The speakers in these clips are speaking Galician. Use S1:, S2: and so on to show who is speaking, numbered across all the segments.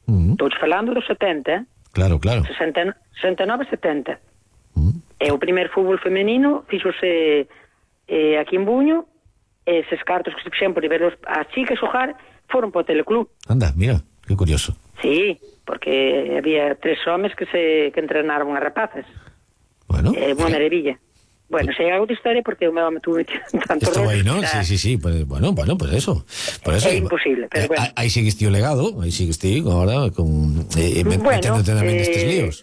S1: Estou falando dos 70,
S2: Claro.
S1: 69, 70. E o primeiro fútbol femenino fíxose aquí en Buño, e eses cartos que se fixen por ir ver as chicas xogar foron para o Teleclub.
S2: Anda, mira, que curioso.
S1: Sí, porque había 3 homes que entrenaron as rapazas.
S2: Bueno,
S1: Unha maravilla. Bueno, sei algo de historia porque o meu home tuvo tanto
S2: esto aí, ¿no?
S1: Era...
S2: Sí, pues, bueno, por eso.
S1: É imposible, pero bueno.
S2: Aí sigues ti o legado, aí sigues ti agora meténdote tamén nestes líos.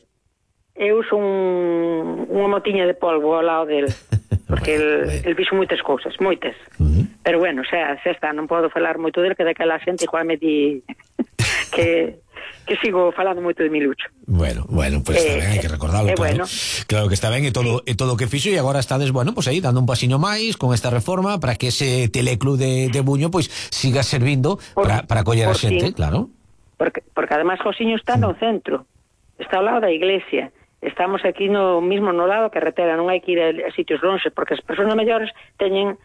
S1: Eu son unha motiña de polvo ao lado del, porque el fixo moitas cousas, moitas. Pero bueno, xa está, non podo falar moito del, que daquela xente igual me di que sigo falando moito de Milucho.
S2: Bueno, pues está ben, hai que recordarlo, claro.
S1: Bueno.
S2: Claro que está ben, e todo o que fixo, e agora estades, pues aí, dando un pasiño máis con esta reforma para que ese Teleclub de Buño pues siga servindo para coller a xente, claro.
S1: Porque además Josiño está no centro, está ao lado da iglesia. Estamos aquí mismo no lado da carretera, non hai que ir a sitios lonxes, porque as persoas maiores teñen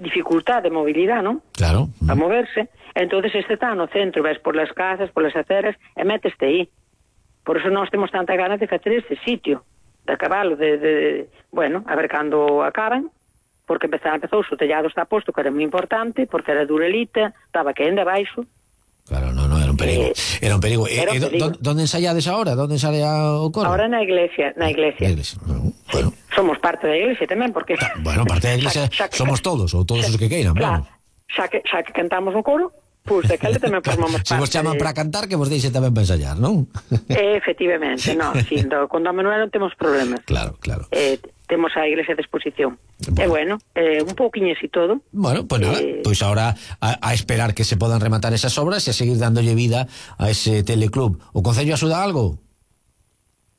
S1: dificultad de movilidade, non?
S2: Claro.
S1: A moverse. Entonces este está no centro, ves por las casas, por las aceras, e meteste aí. Por eso nós temos tanta ganas de facer este sitio, de acabalo, bueno, a ver cando acaban, porque empezou, o tellado está posto, que era moi importante, porque era durelita, estaba queendo abaixo.
S2: Claro, no, era un perigo. Era un perigo. ¿Dónde ensayades ahora? ¿Dónde ensaya o coro?
S1: Ahora na iglesia.
S2: Bueno.
S1: Somos parte da iglesia tamén, porque...
S2: Bueno, parte da iglesia somos todos, ou todos os que queiran,
S1: claro. Xa que cantamos no coro, pois daquela tamén formamos parte.
S2: Se vos chaman para cantar, que vos deixe tamén para ensayar, non?
S1: Efectivamente, non, con Don Manuel non temos problemas.
S2: Claro.
S1: Temos a iglesia de exposición. E bueno, un pouquiño así todo.
S2: Bueno, pues nada, pues ahora a esperar que se podan rematar esas obras e a seguir dándolle vida a ese Teleclub. O Concello axuda algo?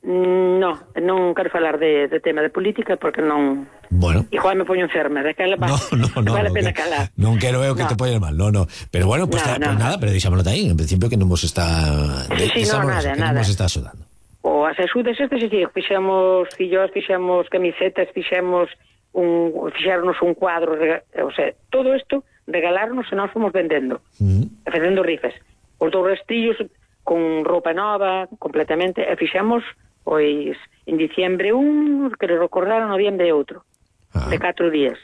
S1: Non quero falar de tema de política porque non...
S2: Bueno.
S1: Igual me poño enferma, daquela vale a pena calar.
S2: Non quero eu que te poñes mal, no. Pero bueno, pues nada, pero deixámoslo aí, en principio que non vos está...
S1: nada.
S2: Non vos está axudando.
S1: O as axudas fixemos fillos, fixemos camisetas, fixéronos un cuadro, o sea, todo isto regalarnos e nós fomos vendendo, facendo rifas. Os 2 restillos con roupa nova, completamente, e fixemos, pois, en diciembre quero recordar, en noviembre outro, de 4 días.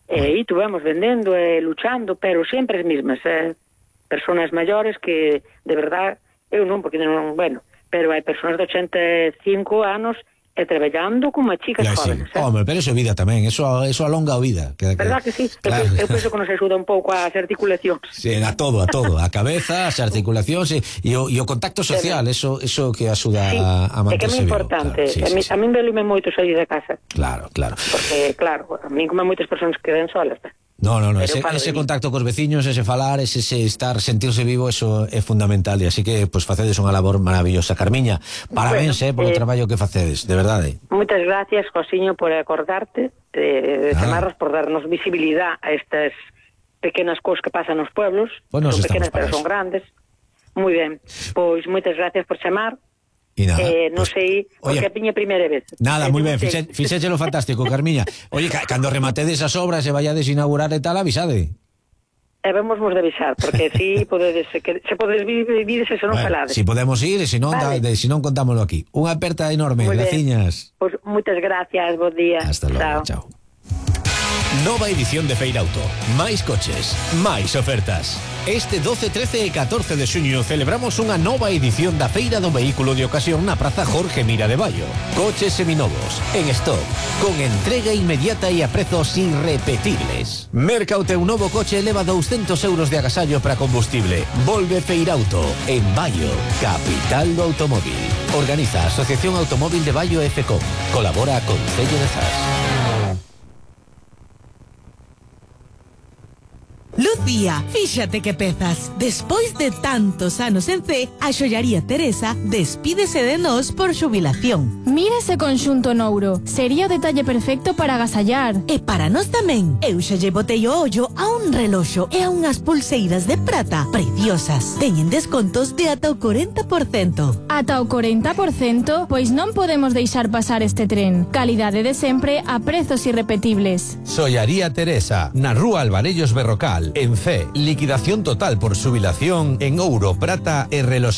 S1: E aí tuvemos vendendo e luchando, pero sempre as mesmas, personas maiores que, de verdad, eu non, porque non, bueno, pero hai persoas de 85 anos e traballando como chicas jóvenes.
S2: Home, pero eso é vida tamén, eso alonga a vida.
S1: Verdad que sí? Claro. Eu penso que nos axuda un pouco as articulacións.
S2: Sí, a todo, a cabeza, as articulacións e o contacto social, eso que axuda a manterse vivo. É que é moi importante,
S1: claro, a min velime moito sair da casa.
S2: Claro.
S1: Porque, claro, a min como moitas persoas que quedan solas,
S2: No, ese contacto cos veciños, ese falar, ese sentirse vivo, eso é fundamental, e así que, pues, facedes unha labor maravillosa. Carmiña, parabéns, polo traballo que facedes, de verdade.
S1: Moitas gracias, Josiño, por acordarte de chamarnos, por darnos visibilidade a estas pequenas cousas que pasan nos pueblos, son pequenas pero son grandes. Moi ben, pois moitas gracias por chamar.
S2: E nada,
S1: non sei, porque a piña primeira vez.
S2: Nada, moi ben, fixéchelo fantástico, Carmiña. Oye, cando rematedes as obras e vayades inaugurar e tal, avisade.
S1: E vamos de avisar, porque si podedes, se podedes vir se non falades.
S2: Si podemos ir, e se non, contámoslo aquí. Unha aperta enorme, graciñas.
S1: Pois moitas gracias, bo día.
S2: Hasta logo, chao.
S3: Nova edición de Feirauto. Máis coches, máis ofertas. Este 12, 13 e 14 de xuño celebramos unha nova edición da Feira do Vehículo de Ocasión na Praza Jorge Mira de Baio. Coches seminovos, en stock, con entrega inmediata e a prezos irrepetibles. Merca o teu novo coche e leva 200 euros de agasallo para combustible. Volve Feirauto, en Baio, capital do automóvil. Organiza a Asociación Automóvil de Baio e FECOM. Colabora a Concello de Zas.
S4: Lucía, fíxate que pezas. Despois de tantos anos en C, a xollaría Teresa despídese de nós por xubilación.
S5: Mira ese conxunto nouro. Sería o detalle perfecto para agasallar.
S4: E para nós tamén. Eu xa lle botei o ollo a un reloxo e a unhas pulseiras de prata preciosas. Teñen descontos de ata o 40%.
S5: Ata o 40%? Pois non podemos deixar pasar este tren. Calidade de sempre a prezos irrepetibles.
S3: Xollaría Teresa, na Rúa Alvarellos Berrocal. En C, liquidación total por xubilación en ouro, prata e reloxería.